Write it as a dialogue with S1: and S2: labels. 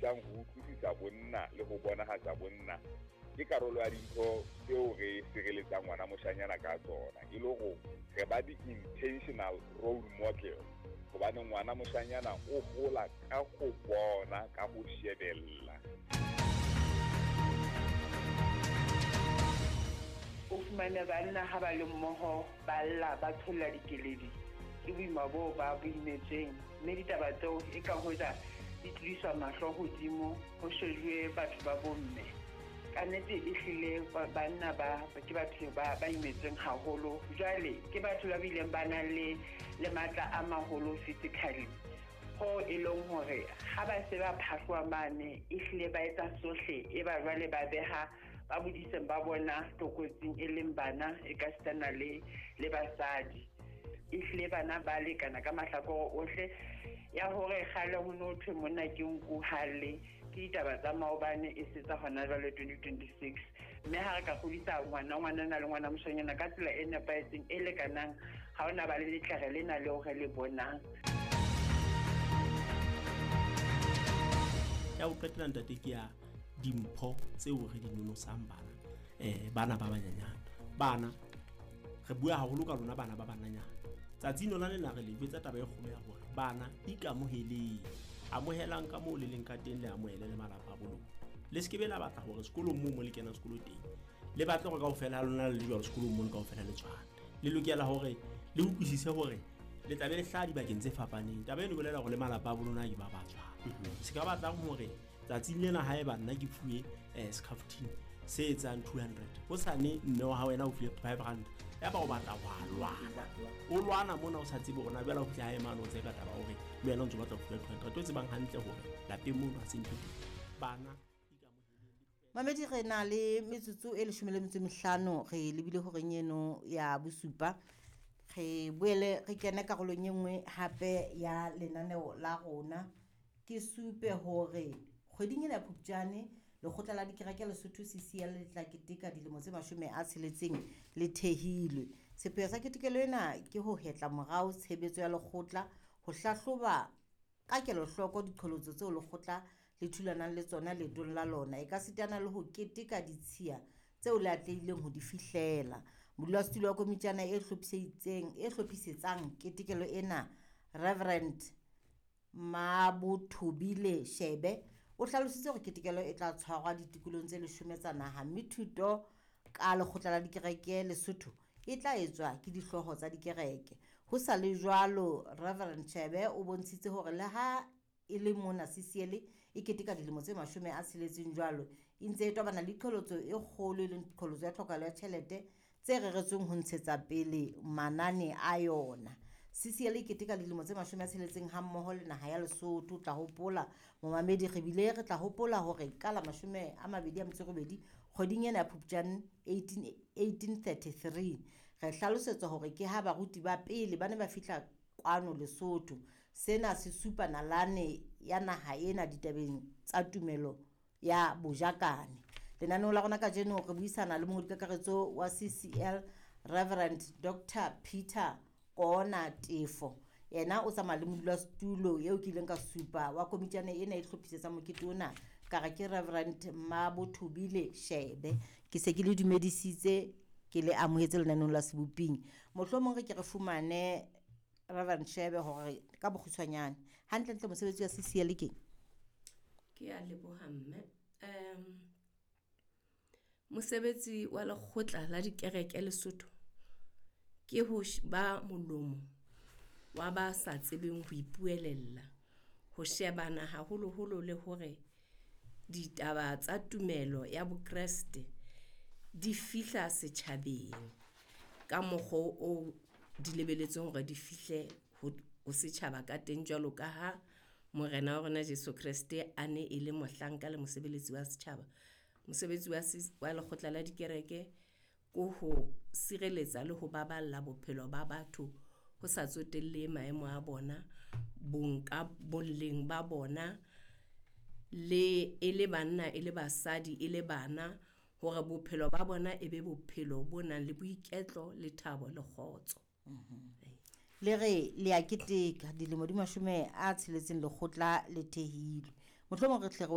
S1: thusang ho utlwisisa bonna le ho bonahatsa bonna. Ke karolo ya dintho tseo re sireletsang ngwana moshanyana ka tsona, e le hore re ba di-intentional role model, hobane ngwana moshanyana o hola ka ho bona, ka ho shebella.
S2: O fumane banna ha ba le mmoho, ba lla, ba tsholla dikeledi, ke boima boo ba bo imetsweng, mme ditaba tseo e ka hoja di tlodiswa mahlo hodimo, ho shejuwe batho ba bomme. Ka nnete ehlile banna ba ke batho ba imetsweng haholo. Jwale ke batho ba bileng ba nang le matla a maholo physically, ho e leng hore ha ba se ba phahloha mane, ehlile ba etsa sohle, e ba jwale ba beha ba bodiseng ba bona tlokotsing, e leng bana e ka sitana le basadi. Ehlile bana ba lekana ka mahlakore ohle. Ya hore kgale ho no thwe monna ke nku halle, ke ditaba tsa maobane e se tsa hona jwale 2026. Mme ha re ka kgodisa ngwana, ngwanana le ngwana moshanyana ka tsela e nepahetseng, e lekanang, ha hona ba le letlere lena leo re le bonang.
S3: Ya ho qetela ntate ke ya dimpho tseo re di nonosang bana, bana ba banyenyane. Bana re bua haholo ka lona bana ba bananyana. Tsatsing lona lena re le jwetsa taba e kgolo ya hore bana ikamoheleng, amohelang ka moo le leng ka teng, le amohele le malapa a bo lona. Le se ke be la batla hore sekolong moo mo le kenang sekolo teng, le batle hore kaofela ha lona le le jwalo sekolong mono kaofela le tshwane. Le lokela hore le utlwisise hore le tla be le hlaha dibakeng tse fapaneng. Taba eno e bolela hore le malapa a bo lona ke ba ba tshwana. Se ka batlang hore tsatsing lena haeba nna ke fuwe scaftine se etsang 200, hosane mme wa hao yena o fuwe 500, ya ba o batla wa lwana, o lwana mona o sa tsebe hore na jwale o fihla hae mane o tseka taba hore le wena o ntso batla ho fuwa 200. O tsebang hantle hore lapeng mono ha se ntho teng. Bana
S4: Mamedi, re na le metsotso e 15 re lebile horeng eno ya bosupa. Re boele re kene karolong e nngwe hape ya lenaneo la rona. Ke supe hore kgweding ena ya Phupjane, lekgotla la dikereke Lesotho CCL le tla keteka dilemo tse 60 le thehilwe. Sepheo sa ketekelo ena ke ho hetla morao tshebetso ya lekgotla, ho hlahloba ka kelohloko diqholotso tseo lekgotla le thulanang le tsona leetong la lona, e ka sitana le ho keteka ditshiya tseo le atlehileng ho di fihlela. Modulasetulo wa komitjana e hlophisetsang ketekelo ena, Reverend Mabothobile Shebe, o hlalositse hore ketekelo e tla tshwarwa ditikolong tse 10 tsa naha, mme thuto ka lekgotla la dikereke Lesotho e tla etswa ke dihlooho tsa dikereke. Ho sa le jwalo, Reverend Shebe o bontshitse hore le ha e le mona CCL e keteka dilemo tse 60 jwalo, e ntse e tobana le qholotso e kgolo, e leng qholotso ya tlhokahalo ya tjhelete tse reretsweng ho ntshetsa pele manane a yona. CCL e keteka dilemo tse 60 ha mmoho le naha ya Lesotho. O tla hopola momamedi, re bile re tla hopola hore ka la 28 kgweding ena ya Phupjane 1833, re hlalosetswa hore ke ha baruti ba pele ba ne ba fihla kwano Lesotho. Sena se supa nalane ya naha ena ditabeng tsa tumelo ya bojakane. Lenaneo la rona kajeno re buisana le mongodi kakaretso wa CCL, Reverend Dr. Peter Kona Tefo. Yena o tsamaya le modulasetulo eo ke ileng ka supa wa komitjana ena e hlophisetsang mokete ona, ka re ke Reverend Mabothobile Shebe. Ke se ke le dumedisitse, ke le amohetse lenaneong la Seboping. Mohlomong re ke re fumane Reverend Shebe hore ka bokgutshwanyane hantlentle mosebetsi wa CCL ke eng?
S5: Ke a leboha mme. Mosebetsi wa lekgotla la dikereke Lesotho ke ho ba molomo wa ba sa tsebeng ho ipuelella, ho shebana haholoholo le hore ditaba tsa tumelo ya Bokreste di fihla setjhabeng ka mokgwa o di lebeletsweng hore di fihle ho setjhaba ka teng, jwalo ka ha Morena wa rona Jesu Kreste a ne e le mohlanka le mosebeletsi wa setjhaba. Mosebetsi wa lekgotla la dikereke ko ho sireletsa le ho baballa bophelo ba batho ho sa tsotelle maemo a bona, boleng ba bona, le e le banna, e le basadi, e le bana, hore bophelo ba bona e be bophelo bo nang le boiketlo le thabo le kgotso.
S4: Le re le a keteka dilemo di 60 lekgotla le thehilwe. Mohlomong re tle re